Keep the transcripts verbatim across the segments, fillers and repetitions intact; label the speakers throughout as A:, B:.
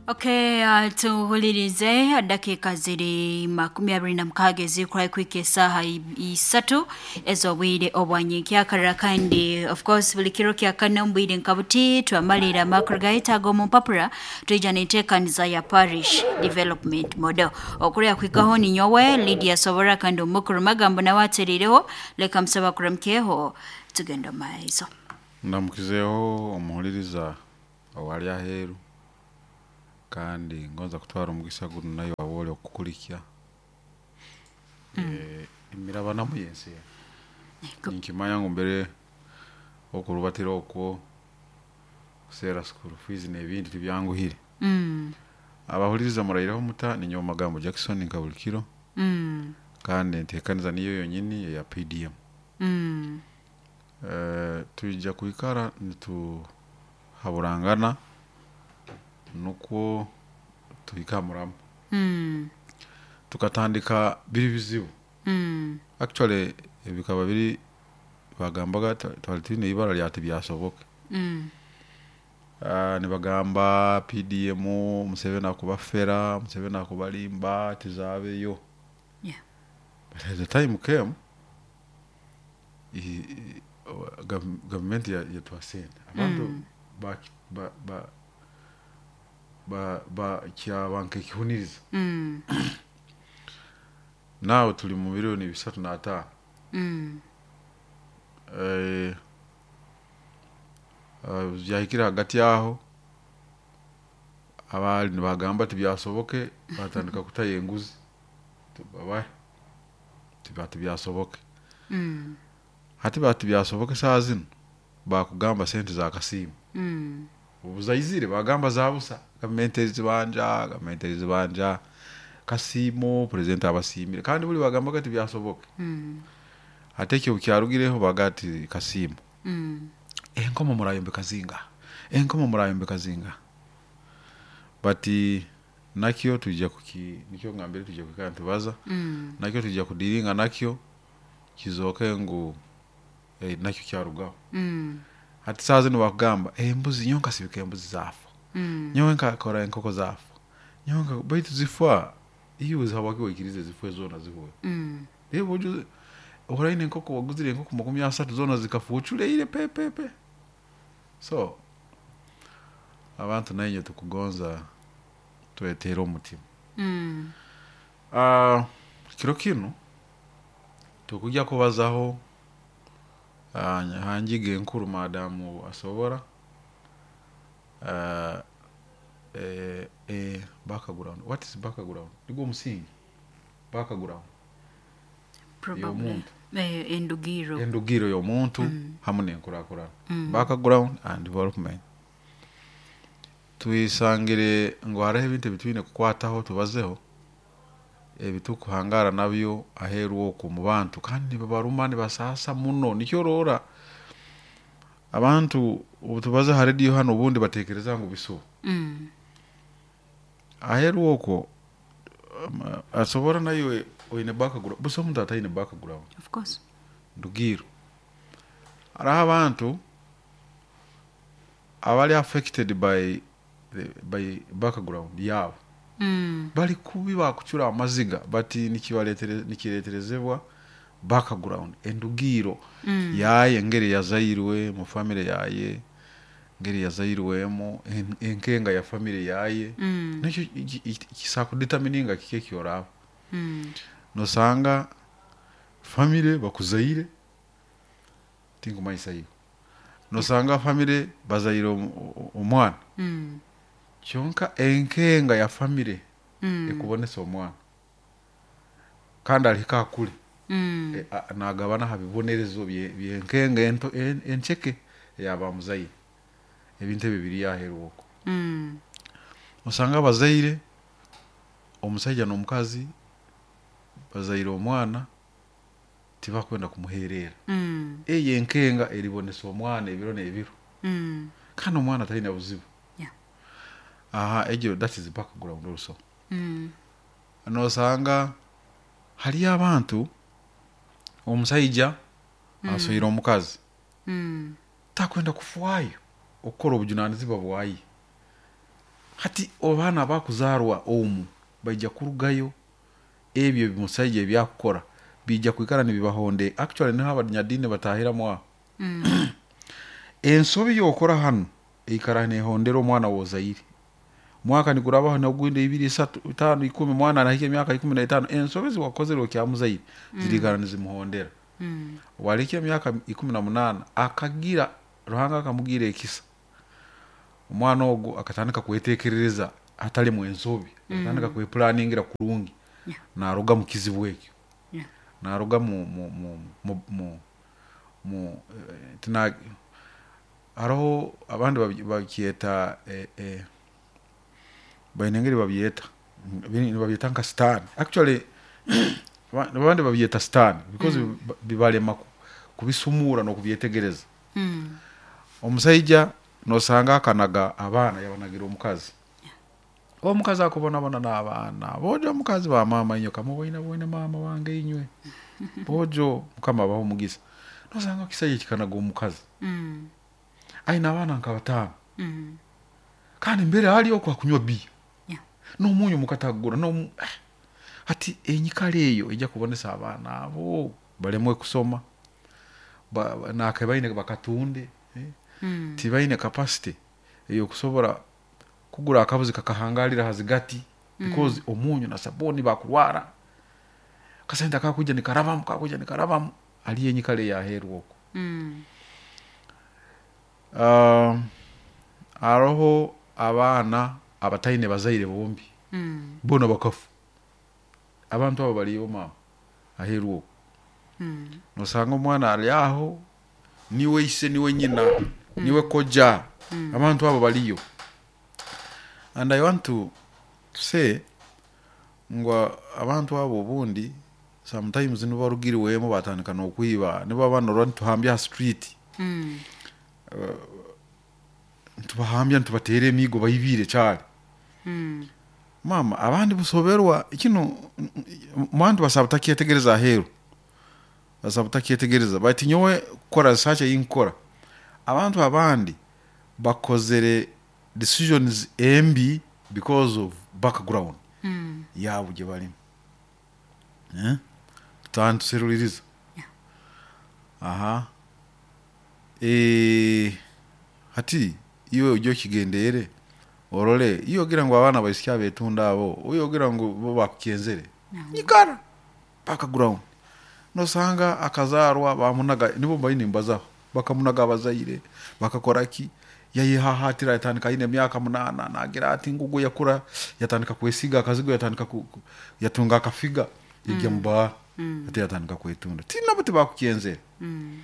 A: Okay, uh, tuhulirize dakika ziri makumi abiri na mukaaga ezikurayo kuhika esaaha isatu ez'obwire obwanyenkyakara. Kandi of course buli kiro kya kana omu bwire nka buti twamalira amakuru gaitu omu mpapura, twija n'enteekaniza ya Parish Development Model. Okurya kuhikaho ninyowe Lydia Sobora, kandi omukuru magambo nawe ateriireho. Leka musaba kuramukyeho, tugenda omu maiso.
B: Ndamukizeho omuhuliriza owali aheeru, kandi ngonza kutwara omugisa guno nayo waba okukulikya. Eh, emirabanamu yensi enu. Ninkimanya ngu mbere okurubatira okwo kuseera school fees n'ebindi tibyanguhire.
A: Mm,
B: abahuliriza muraireho muta? Ninyowe Magambo Jackson nka buli kiro,
A: mm,
B: kandi enteekaniza niyo yonyini eya P D M.
A: mm,
B: Eh, twija kwikara nituhaburangana nukwo tuhike ha muramo.
A: mm,
B: Tukatandika biri bizibu.
A: mm,
B: Actually bikaba biri bagambaga twa- twali twine ibara lya tibyasoboke.
A: mm,
B: Uh, nibagamba P D M, Museveni akubafera, Museveni akubalimba, tizabeyo.
A: yeah.
B: But as the time came, i- i- gav- gavumenti ya- yatuha sente, abantu
A: Mm.
B: ba ba ba ba ba kyaba nk'ekihuniriza.
A: Mm,
B: Nawe tuli mu miliyoni bisatu n'ataano.
A: mm,
B: Eh, eh, byahikire hagati aho, abaali nibagamba tibyasoboke batandika kutayo enguzi. Babahe tiba tibyasoboke.
A: mm,
B: Hati bati byasoboke, saa zino bakugamba sente za kasiimu.
A: mm,
B: Obuzaizire bagamba za busa, gavumenti erizibanja, gavumenti erizibanja kasiimo, purezidenti abasiimire, kandi buli bagambaga tibyasoboke.
A: mm,
B: Ate ekyo kyarugireho baga ati kasiimo.
A: mm,
B: Enkomo murayombeka zinga, enkomo murayombeka zinga, bati nakyo tujja kuki, nikyo ngambire tujja kwikara nitubaza.
A: mm,
B: Nakyo tujja kudiringa nakyo kizooke ngu eh, nakyo kyarugaho.
A: mm,
B: Hati saa zino bakugamba embuzi, nyowe nkasibika embuzi zaafa,
A: mm,
B: nyowe nkakora enkoko zaafa, nyowe nka- baitu zifa iwe habwaki waikirize zifwe zoona zihwe?
A: mm,
B: Reba ojuze oraine enkoko, waguzire enkoko makumi asatu, zoona zikafa oculeire pepepe. So abantu nainye tukugonza twetere omutima.
A: mm,
B: uh, kiro kinu tukujja kubazaho uh, hanjiga enkuru madamu asobora uh, eh, eh, background. What is background? Nigwo omusingi, background
A: Probably.
B: y'omuntu.
A: Eh, endugiro.
B: Endugiro y'omuntu hamu n'enkurakurana, background and development. Twisangire ngu hariho ebintu ebitwine kukwataho tubazeho, ebitukuhangara nabyo aheeru okwo mu bantu, kandi nibabaruma, nibasaasa muno. Nikyo oroora abantu obu tubaza ha rediyo hano, obundi batekereza ngu bisuba.
A: Mm,
B: Aheeru okwo um, asobora nayo oine background busa, omuntu ataine background.
A: Of course.
B: Ndugiro, hariho abantu abali affected by the, by background yabo.
A: Mm,
B: Bali kubi, bakucura amaziga bati nikibaretere nikireterezebwa background, endugiro
A: mm,
B: yaye, engeri yazairwe mu family yaye, engeri yazairwemu, en- enkenga ya family yaye.
A: mm,
B: Nakyo kisakudetermininga kiki ekyoraba.
A: mm,
B: Nosanga family bakuzaire tinkumanyisa iwe, nosanga family bazaire omu- o- omwana,
A: mm,
B: kyonka enkenga ya family
A: mm,
B: ekubonesa omwana, kandi alihika akule.
A: mm,
B: E, a- nagabana ha bibonerezo bye- byenkenga ento en- enceke eyabamuzaire. Ebintu ebyo biri aheeru okwo.
A: mm,
B: Osanga abazaire, omusaija n'omukazi bazaire omwana, tibakwenda kumuherera.
A: mm,
B: Eyo enkenga eribonesa omwana ebiro n'ebiro,
A: mm,
B: kandi omwana talina buzibu.
A: Yeah.
B: Aha, egyo that is background also.
A: mm,
B: Nosanga hariyo abantu, omusaija asoire omukazi,
A: mm,
B: takwenda kufwayo okukora obujunanizibwa bwaye. Hati abaana abakuzarwa omu baija kurugayo ebyo ebimusaija ebyakukora bijja kwikara nibibahonde. Actually niho abanyadiini batahiramu aho.
A: Mm.
B: Ensobi yokora hanu eikara nehondera omwana wozaire. Mwaka nigurabaho nogundi ibiri isatu itaano ikumi, mwana anahika emyaka ikumi n'etaano, ensobi ziwakozere okyamuzaire zirikara nizimuhondera.
A: Mm.
B: Walihika emyaka ikumi na munaana akagira Ruhanga akamugira ekisa, omwana ogu akatandika kwetekerereza hatalimu ensobi, akatandika kwepulaningira kurungi.
A: Yeah.
B: Naruga mu kizibu ekyo,
A: Yeah.
B: naruga mu mu mu mu mu, mu eh, tina haroho abandi babi- bakyeta eh, eh, baine engeri babyeta Bini- nibabyeta nka sitaani. Actually aba- abandi babyeta sitaani because mm. bibalema ku- kubisumura n'okubyetegereza.
A: Mm.
B: Omusaija nosanga akanaga abaana yabanagira omukazi, omukazi akubonabona n'abaana bojo, omukazi ba maama inywe kamuboine boine maama wange inywe bojo, mukama abaho omugisa. Nosanga ekisaija kikanaga omukazi
A: Mm.
B: aine abaana nka bataano,
A: Mm.
B: kandi mbere hali okwo akunywa biya
A: Yeah.
B: n'omunyu mukatagura nomu eh. Hati enyikara eyo ejja kubonesa abaana abo balemwe kusoma, ba, ba- nake baine bakatunde eh?
A: Mm.
B: Tibaine capacity eyokusobora kugura akabuzi kakahangalira hazigati because omunyu na sabuni bakurwara kasente akakuja nikarabamu kakuja nikarabamu aliyo enyikara eyaheerwa okwo.
A: Mm.
B: Um, haroho abaana abataine bazaire bombi,
A: Mm.
B: bona bakafu. Abantu abo baliyo maama aheeru okwo.
A: Mm.
B: Nosanga omwana ali aho niwe ise niwe nyina niwe koja. Abantu abo baliyo. And I want to say ngu abantu abo obundi sometimes nibarugiriwemu batandika n'okwiba, nibo abaana orora nituhambya ha street,
A: Mm.
B: nitubahambya nitubateera emiigo baibire kyali.
A: Mm.
B: Mama abandi busoberwa kino mwantu basaba butakyetegereza aheeru, basaba butakyetegereza. Bati nyowe kukora research eyinkukora, abantu abandi bakozere decisions embi because of background
A: Mm.
B: yaabo gye balimu, eh? Tutantuseruliriza.
A: Yeah.
B: Aha e, hati iwe ujye okigendeere orole iyo ogira ngu abaana baisiki abetunda abo oyo ogira ngu bo bakukyenzere nyikara background nosanga akazarwa bamunaga, nibo mbaine mbazaho, bakamunaga abazaire bakakora ki, yayehahatira yatandika aine emyaka munaana nagira ati ngugu yakura yatandika kwesiga akazigo yatandika ku, ku- yatunga akafiga yajya mu bar ati yatandika kwetunda tinabo tibakukyenzere.
A: Mm.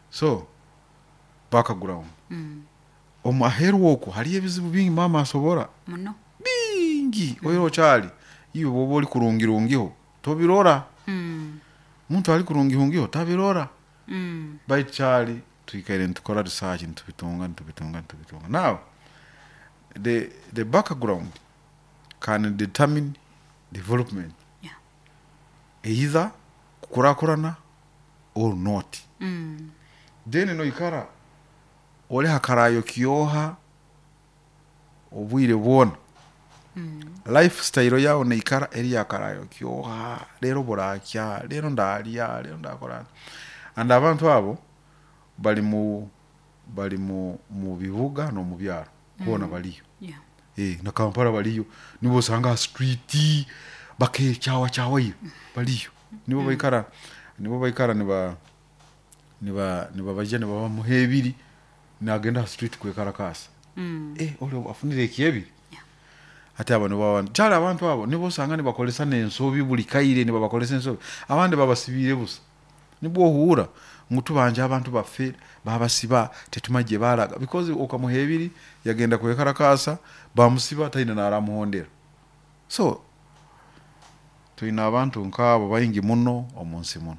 B: So background
A: Mm.
B: omu aheeru okwo hariyo ebizibu bingi maama asobora
A: Muno.
B: bingi oiro okyali iwe bwoba oli kurungirungiho tobirora.
A: Mm.
B: Muntu ali kurungihungiho tabirora.
A: Mm.
B: Baitu kyali twikaire nitukora research nitubitunga nitubitunga nitubitunga. Now the, the background can determine development,
A: Yeah.
B: either kukurakurana or not.
A: Mm.
B: Then noikara oli hakarayo kyoha obwire bwona,
A: Mm.
B: lifestyle yawe neikara eri yakarayo kyoha, lero burakya lero ndalya lero ndakora. And abantu abo bali mu bali mu mu bibuga no mu byaro bona baliyo.
A: Yeah.
B: Eh, na Kampala baliyo, nibo osanga ha street bakekyawa kyawayo baliyo, nibo baikara nibo baikara niba niba nibabaja nibabamuha ebiri nagenda ha street kwekarakasa.
A: Mm.
B: Eh, oli afunire ekyebiri.
A: Yeah.
B: Ate abo nibo abantu kyali abantu abo nibo osanga nibakolesa n'ensobi buli kaire, nibabakolesa ensobi, abandi babasibiire busa, nibwo ohuura ngu tubanja abantu baffe babasiba tetumanyi gye balaga because okamuha ebiri yagenda kwekarakasa bamusiba taine naramuhondera. So twine abantu nk'abo baingi muno omu nsi muno.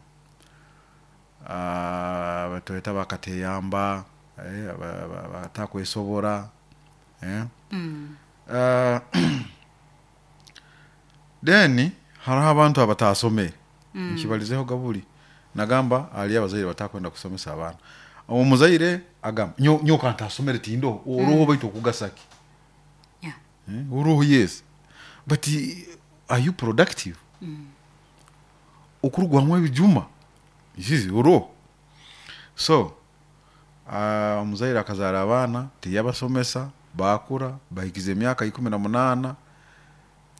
B: Ah, batweta bakateyamba eh, aba- aba- abatakwesobora eh.
A: Mm.
B: Uh, then hariho abantu abatasomere, nkibalizeho gabuli nagamba ali abazaire batakwenda kusomesa abaana, omuzaire agamba nyo nyoka ntasomere tindoho oroho baitu okugasaki.
A: Yeah.
B: Eh, oroho, yes, but eh, are you productive? Okurugwamu ebijuma isizi oroho. So ah, omuzaire akazaara abaana, tiyabasomesa, baakura bahikize emyaka ikumi na munaana,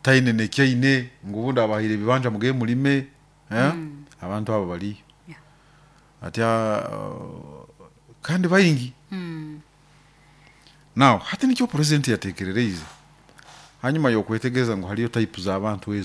B: taine nekyaine ngu obundi abahaire ebibanja, mugende mulime, eh? Abantu abo baliyo.
A: Yeah.
B: Ati uh, kandi baingi.
A: Mm.
B: Now hati nikyo president yatekerereize hanyuma yokwetegereza ngu haliyo type z'abantu ezo.